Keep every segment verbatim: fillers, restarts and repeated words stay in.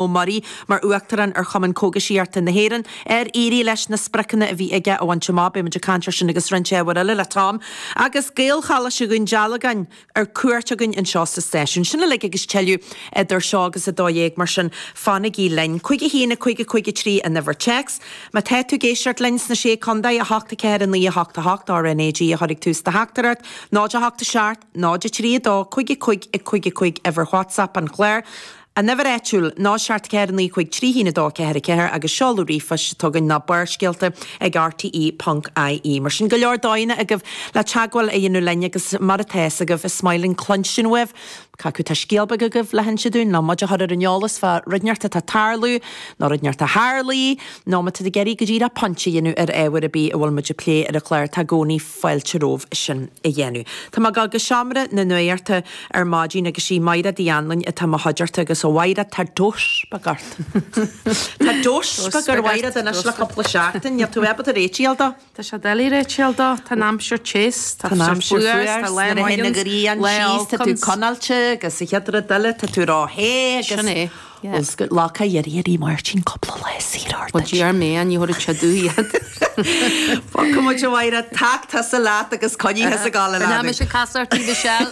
Ó Muirí mar Uachtarán ar Chumann Cógaisíochta na hÉireann ar éirigh leis na spriocanna a bhí aige a bhaint amach. Beidh muid ag caint air sin agus roinnt ábhair eile le Tom agus Gaelcholáiste Dhún Dealgan ar cuairt againn anseo sa stáisiún. Sin uilig agus tuilleadh idir seo agus a dó dhéag mar sin fanaigí linn. Cúig a haon a cúig a cúig a trí an uimhir téacs. Má tá tú ag éisteacht linn sna Sé Chontae a hocht a ceathair a naoi a hocht a hocht RnaG a chuirfidh tús do theachtaireacht, náid a hocht a seacht, náid a trí a dó, cúig a cúig a cúig a cúig uimhir WhatsApp an chláir. An uimhir áitiúil, náid seacht ceathair naoi cúig trí haon a dó ceathair a ceathair agus seoladh ríomhphoist atá againn ná Barrscéalta ag RTE ponc IE. Mar sin go leor dóigheanna agaibh le teagmháil a dhéanamh linn agus mar atá fhios agaibh is maith linn cluinstin uaibh. Cé acu tá scéal beag agaibh le hinse dúinn nó muid a chur ar an eolas fá rud inteacht atá ag tarlú nó rud inteacht a tharlaigh nó má tá tú ag iarraidh go díreach pointe a dhéanamh ar ábhar ar bith a bhfuil muid ag plé ar an chlár tá i gcónaí fáilte romhaibh sin a dhéanamh. Tá mé ag dul go seomra na nuachta ar maidin agus sí Máire Uí Anluain atá i mo chuideachta agus a Mháire tá dós beag ort. Tá dós beag ar Mháire anois le cúpla seachtain, níl tú ábalta réiteach dó? Tá sé doiligh réiteach dó, tá an aimsir te, tá Tá an aimsir fuar, tá lá nuair a théann na maith grian lá síos, tá tú olcans. conáilte agus a chéad rud eile tá tú ró-the agus Sin é, yeah. Bhuel, lá cá iarraidh ar Máirtín cúpla lá saor ort Well, d'iarr mé an ní thabharfaidh sé domh iad. Fágfaidh muid a Mháire tac tusa leat agus coinnigh thusa ag gabháil a Ná leanadh. mise cas ort í Michelle.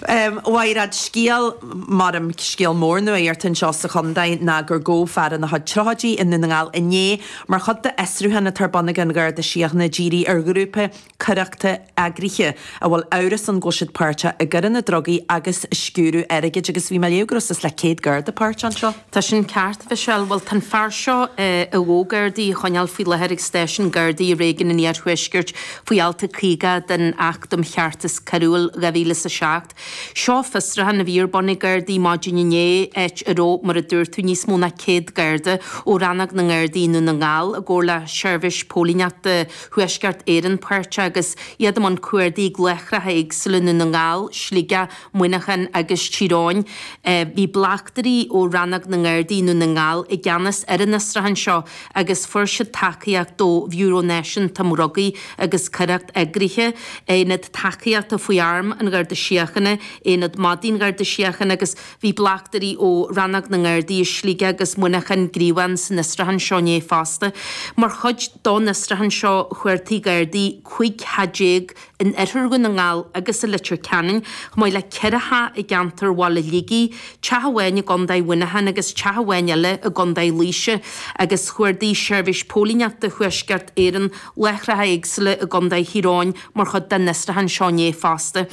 Um, Mháire, scéal maram scéal mór nuachta anseo sa chontae ná gur gabhadh fear ina chuid tríochaidí i nDún na nGall inné mar chuid de fhiosrúchán atá ar bun ag an Gharda Síochána dírithe ar ghrúpa coireachta eagraithe a bhfuil amhras ann go bhfuil siad páirteach i gcoireanna drugaí agus sciúradh airgid agus bhí mé ag léamh go raibh suas le céad garda páirteach anseo. Tá sin ceart Michelle, bhuel tá an fear seo a bhfuil Gardaí á choinneáil faoi láthair ag stáisiún Gardaí i réigiún an Iarthuaiscirt faoi alt caoga den Acht um Cheartas Coiriúil dhá mhíle is a seacht. Seo fiosrúchán a bhí ar bun ag Gardaí maidin inné áit a raibh mar a dúirt tú níos mó ná céad Garda ó rannóg na nGardaí i nDún na nGall i gcomhar le seirbhís póilíneachta Thuaisceart Éireann páirteach agus iad i mbun cuardaigh ag láithreacha éagsúla i nDún na nGall, Sligeach, Muineachán agus Tír Eoghain. Bhí bleachtairí ó rannóg na nGardaí i nDún na nGall i gceannas ar an fhiosrúchán seo agus fuair siad tacaíocht ó Bhiúró Náisiúnta um Dhrugaí agus Coireacht Eagraithe, Aonad Tacaíochta faoi Arm an Gharda Síochána, Aonad Maidin Gharda Síochána agus bhí bleachtairí ó rannóg na nGardaí i Sligeach agus Muineachán gníomhach san fhiosrúchán seo inné fosta. Mar chuid den fhiosrúchán seo chuardaigh Gardaí cúig theach déag in oirthear Dhún na nGall agus i Leitir Ceanainn, chomh maith le ceithre theach i gceantar Bhaile Shligigh, teach amháin i gContae Mhuineacháin agus teach amháin eile i gContae Laoise, agus chuardaigh seirbhís póilíneachta Thuaisceart Éireann láithreacha éagsúla i gContae Thír Eoghain mar chuid den fhiosrúchán seo inné fosta.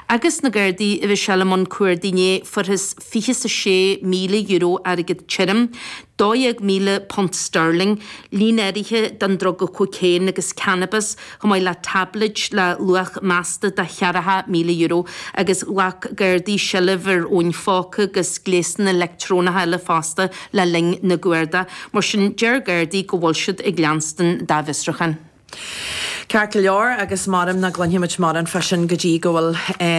Agus na Gardaí a bhí sé le mbun cuardaigh inné fuarthas fiche is a sé míle euro airgead tirim, dó dhéag míle punt sterling, líon áirithe den druga cocaine agus cannabis, chomh maith le táibléid le luach measta de cheathracha míle euro, agus ghlac Gardaí seilbh ar fhóin phóca agus gléasanna leictreonacha eile fosta le linn na gcuardach. Mar sin deir Gardaí go bhfuil siad ag leanstan dá bhfiosrúchán. Ceart go leor agus maram nach gcluinfimid mórán fá sin go dtí go bhfuil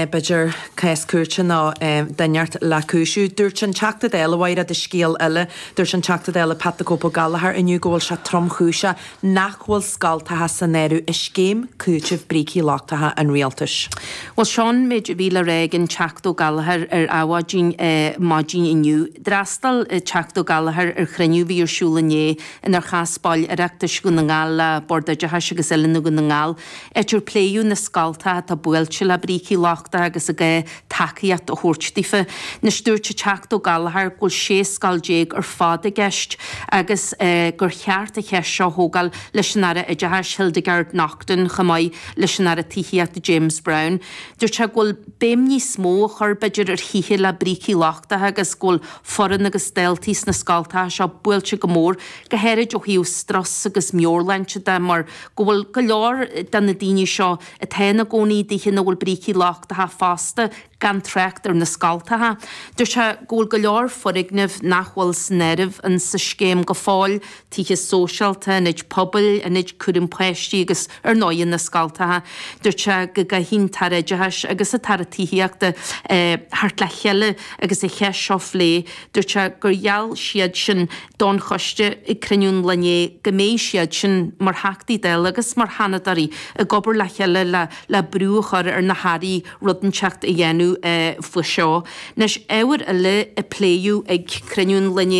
b'fhéidir cás cúirte nó duine inteacht le cúiseamh. Dúirt an Teachta Dála Mháire de scéal eile, dúirt an Teachta Dála Pat the Cope Ó Gallchóir inniu go bhfuil sé tromchúiseach nach bhfuil scoltacha san áireamh i scéim cúitimh brící lochtacha an rialtais. Well seo an méid a bhí le rá ag an Teachta Ó Gallchóir ar Adhmhaidin maidin inniu. D'fhreastail Teachta Ó Gallchóir ar chruinniú a bhí ar siúl inné inar chas baill Oireachtais Dhún na nGall le Bord Oideachais agus Oiliúna Dhún na nGall. Áit ar pléadh na scoltacha atá buailte le brící lochtacha agus an gá tacaíocht a thabhairt daofa. Anois dúirt an Teachta Ó Gallchóir go bhfuil sé scoil déag ar fad i gceist agus gur cheart an cheist seo a thógáil leis an Aire Oideachais Hildegarde Naughton chomh maith leis an Aire Tithíochta James Browne. Dúirt sé go bhfuil béim níos mó a chur b'fhéidir ar thithe le brící lochtacha agus go bhfuil foireann agus daltaí sna scoltacha seo buailte go mór, go háirid ó thaobh strus agus meabhairshláinte de mar go bhfuil go leor de na daoine seo atá ina gcónaí i dtithe ina bhfuil brící lochtacha fosta gan trácht ar na scoltacha. Dúirt sé go bhfuil go leor foirgneamh nach bhfuil san áireamh in sa scéim go fóill, tithe sóisialta, ionaid pobail, ionaid cúram páistí agus ar ndóigh na scoltacha. Dúirt sé go gcaithfidh an tAire Oideachais agus an tAire Tithíochta theacht le chéile agus an cheist seo a phlé. Dúirt sé gur gheall siad sin don choiste ag cruinniú an lae inné go mbeidh siad sin mar Theachtaí Dála agus mar Sheanadóirí ag obair le chéile le le brú a chur ar na hairí rud inteacht a dhéanamh déanamh faoi seo. Anois, ábhar eile a pléadh ag cruinniú an lae inné,